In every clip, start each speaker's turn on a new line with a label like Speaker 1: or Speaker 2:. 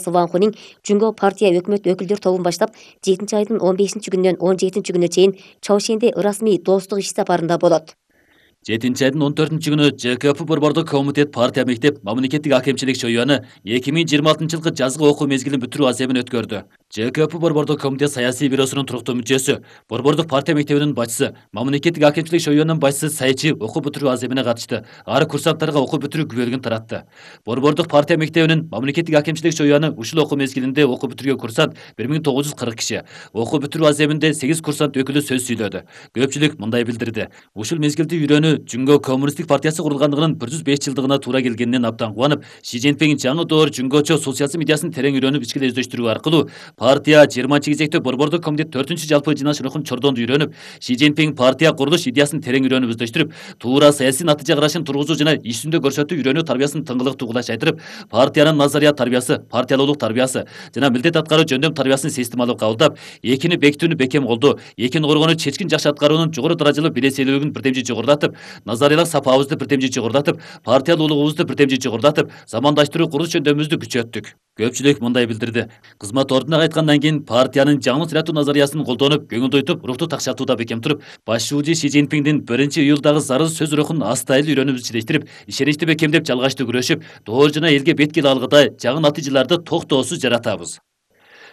Speaker 1: Ван Хуning Жунго партия өкмөт өкүлдөр тобун баштап 7-айдын 15-күнүнөн 17-күнүнө чейин Чаошенде ырасмий достук иш сапарында болот.
Speaker 2: 7-айдын 14-күнү ЖКП борбордук комитет партия мектеп мамлекеттик акимчилик шоюаны 2026-жылкы жазгы окуу мезгилин бүтүрүү аземин өткөрдү. ЖКП борбордук комитет саясий бюросунун туруктуу мүчөсү, борбордук партия мектебинин башчысы, мамлекеттик акимчилик шоюунун башчысы Сайчи окуу бүтүрүү аземине катышты. Ары курсанттарга окуу бүтүрүү күбөлүгүн таратты. Борбордук партия мектебинин мамлекеттик акимчилик шоюаны ушул окуу мезгилинде окуу бүтүргөн курсант 1940 киши. Окуу бүтүрүү аземинде 8 курсант өкүлү сөз сүйлөдү. Көпчүлүк мындай билдирди: ушул мезгилде үйрөнүү Жунго коммунисттик партиясы курулгандыгынын 105 жылдыгына туура келгенинен абдан кубанып, Ши Цзиньпин жаңы доор жунгочо социализм идеясын терең үйрөнүп, ичкиле издештирүү аркылуу партия 20-кезектеги борбордук комитет 4-чү жалпы жыйналыш рухун чордонду үйрөнүп, Ши Цзиньпин партия курулуш идеясын терең үйрөнүп издештирип, туура саясий натыйжа карашын тургузуу жана иш жүзүндө көрсөтүү үйрөнүү тарбиясын тыңгылыктуу кулаш айтырып, партиянын назарият тарбиясы, партиялуулук тарбиясы жана милдет аткаруу жөндөм тарбиясын системалуу кабылдап, экини бекитүүнү бекем колдоо, экини коргонуу чечкин жакшы аткаруунун жогору даражалуу белеселүүлүгүн бирдемжи жогорулатып, назариялык сапабызды бирдемжи жогорулатып, партиялуулугубузду бирдемжи жогорулатып, замандаштыруу курулуш жөндөмүбүздү күчөттүк. Көпчүлүк мындай билдирди: кызмат ордуна кайткандан кийин партиянын жаңы ырааттуу назариясын колдонуп, көңүлдү ойтуп, рухту такшатууда бекем туруп, башчуучу Ши Цзиньпиндин 1-июлдагы зарыл сөз рухун астайыл үйрөнүп ичилештирип, ишеничти бекемдеп жалгачтуу күрөшүп, доор жана элге бет келе алгыдай жаңы натыйжаларды токтоосуз жаратабыз.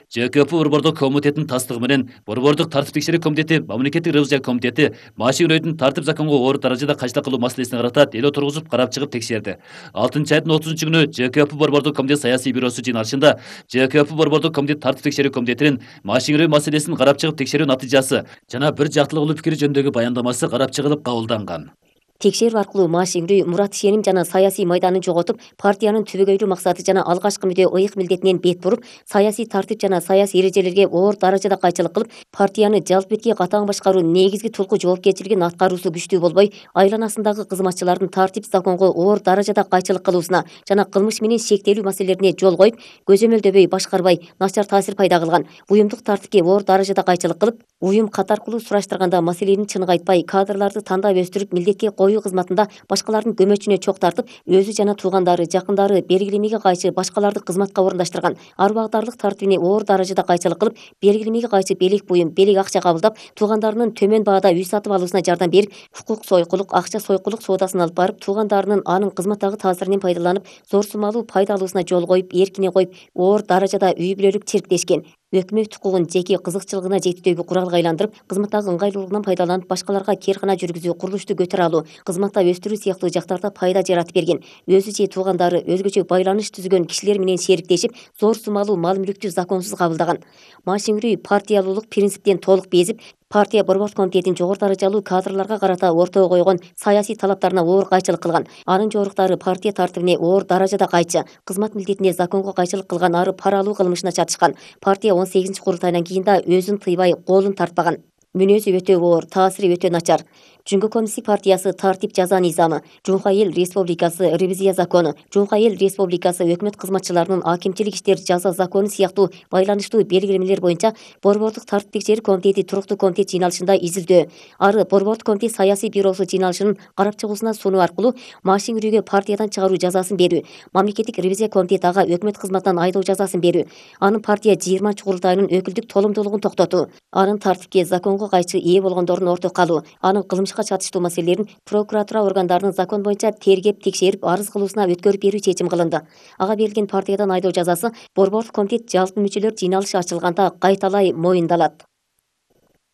Speaker 2: ЖКП борбордук комитетинин тастыгы менен борбордук тартип текшерүү комитети, мамлекеттик ревизия комитети Машин-Рөйдүн тартип законго оор даражада кайшылык кылуу маселесине карата дело тургузуп карап чыгып текшерди. 6-айдын 30-күнү ЖКП борбордук комитет саясий бюросу жыйналышында ЖКП борбордук комитет тартип текшерүү комитетинин Машин-Рөй маселесин карап чыгып текшерүү натыйжасы жана бир жактылыктуу пикири жөнүндөгү баяндамасы карап чыгылып кабылданган.
Speaker 1: Текшерүү аркылуу Машин-Рөй мурат ишеним жана саясий майданын жоготуп, партиянын түбөгөйлүү максаты жана алгачкы мүдө ыйык милдетинен бет буруп, саясий тартип жана саясий эрежелерге оор даражада кайчылык кылып, партияны жалпыбетке катаң башкаруу негизги тулку жоопкерчилигин аткаруусу күчтүү болбой, айланасындагы кызматчылардын тартип законго оор даражада кайчылык кылуусуна жана кылмыш менен шектелүү маселелерине жол коюп, көзөмөлдөбөй башкарбай, начар таасир пайда кылган, буюмдук тартипке оор даражада кайчылык кылып, уюм кат аркылуу сураштырганда маселени чыныгы айтпай, кадрларды тандап өстүрүп, милдетке коюу кызматында башкалардын көмөчүнө чок тартып, өзү жана туугандары, жакындары белгилемеге кайчы башкаларды кызматка орундаштырган, ар багытарлык тартибине оор даражада кайчылык кылып, белгилемеге кайчы белек буюм, белек акча кабылдап, туугандарынын төмөн баада үй сатып алуусуна жардам берип, хукук сойкулук, акча сойкулук соодасын алып барып, туугандарынын анын кызматтагы таасиринен пайдаланып, зор суммалуу пайда алуусуна жол коюп, эркине коюп, оор даражада үй бүлөлүк тирктешкен. Өкмөт укугун жеке кызыкчылыгына жетектөөгө куралга айландырып, кызматтагы ыңгайлуулугунан пайдаланып, башкаларга керкана жүргүзүү, курулушту көтөрө алуу, кызматта өстүрүү сыяктуу жактарда пайда жаратып берген. Өзү же туугандары, өзгөчө байланыш түзгөн кишилер менен шериктешип, зор суммалуу мал мүлктү законсуз кабылдаган. Машин-Рөй партиялуулук принциптен толук безип, партия борбордук комитетинин жогору даражалуу кадрларга карата ортого койгон саясий талаптарына оор кайчылык кылган. Анын жоруктары партия тартибине оор даражада кайчы, кызмат милдетине законго кайчылык кылган, ары пара алуу кылмышына чатышкан. Партия 18 курултайынан кийин да өзүн тыйбай, колун тартпаган. Мүнөзү өтө оор, таасири өтө начар. Жунго коммунисттик партиясы тартип жаза низамы, Жунха эл республикасы ревизия закону, Жунха эл республикасы өкмөт кызматчыларынын акимчилик иштер жаза закону сыяктуу байланыштуу белгилемелер боюнча борбордук тартип текшерүү комитети туруктуу комитет жыйналышында изилдөө, ары борбордук комитет саясий бюросу жыйналышынын карап чыгуусуна сунуу аркылуу Машин-Рөйгө партиядан чыгаруу жазасын берүү, мамлекеттик ревизия комитети ага өкмөт кызматынан айдоо жазасын берүү, анын партия 20 курултайынын өкүлдүк толомдуулугун токтотуу, анын тартипке законго кайчы ээ болгондордун орто калуу, анын кылмышка чатыштуу маселелерин прокуратура органдарынын закон боюнча тергеп, текшерип, арыз кылуусуна өткөрүп берүү чечим кылынды. Ага берилген партиядан айдоо жазасы борбордук комитет жалпы мүчөлөр жыйналышы ачылганда кайталай моюндалат.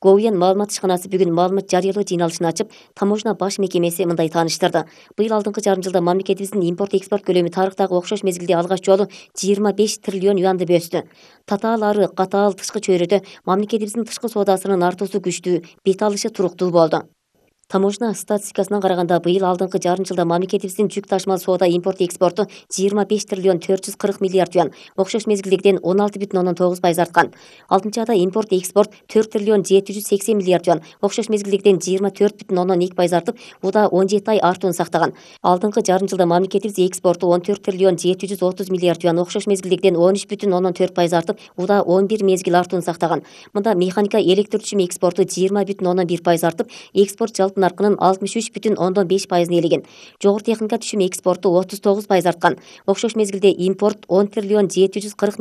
Speaker 1: ГОУЯН маалымат ишканасы бүгүн маалымат жарыялоо жыйналышын ачып, таможня баш мекемеси мындай тааныштырды. Быйыл алдыңкы жарым жылда мамлекетибиздин импорт-экспорт көлөмү тарыхтагы окшош мезгилде алгач жолу 25 триллион юанды өстү. Татаал ары катаал тышкы чөйрөдө мамлекетибиздин тышкы соодасынын артуусу күчтүү, бет алышы туруктуу болду. Таможня статистикасына караганда, быйыл алдыңкы жарым жылда мамлекетибиздин жүк ташмал соода импорт-экспорту 25 триллион 440 миллиард юан, окшош мезгилдегиден 16,9% арткан. 6-айда импорт-экспорт 4 триллион 780 миллиард юан, окшош мезгилдегиден 24,2% артып, буда 17 ай артуун сактаган. Алдыңкы жарым жылда мамлекетибиз экспорту 14 триллион 730 миллиард юан, окшош мезгилдегиден 13,4% артып, буда 11 мезгил артуун сактаган. Мында механика электр түчүмү экспорту 20,1% артып, экспорт жалпы наркынын 63,5% ээлеген. Жогору техника түшүмү экспорту 39% арткан. Окшош мезгилде импорт 10 триллион 740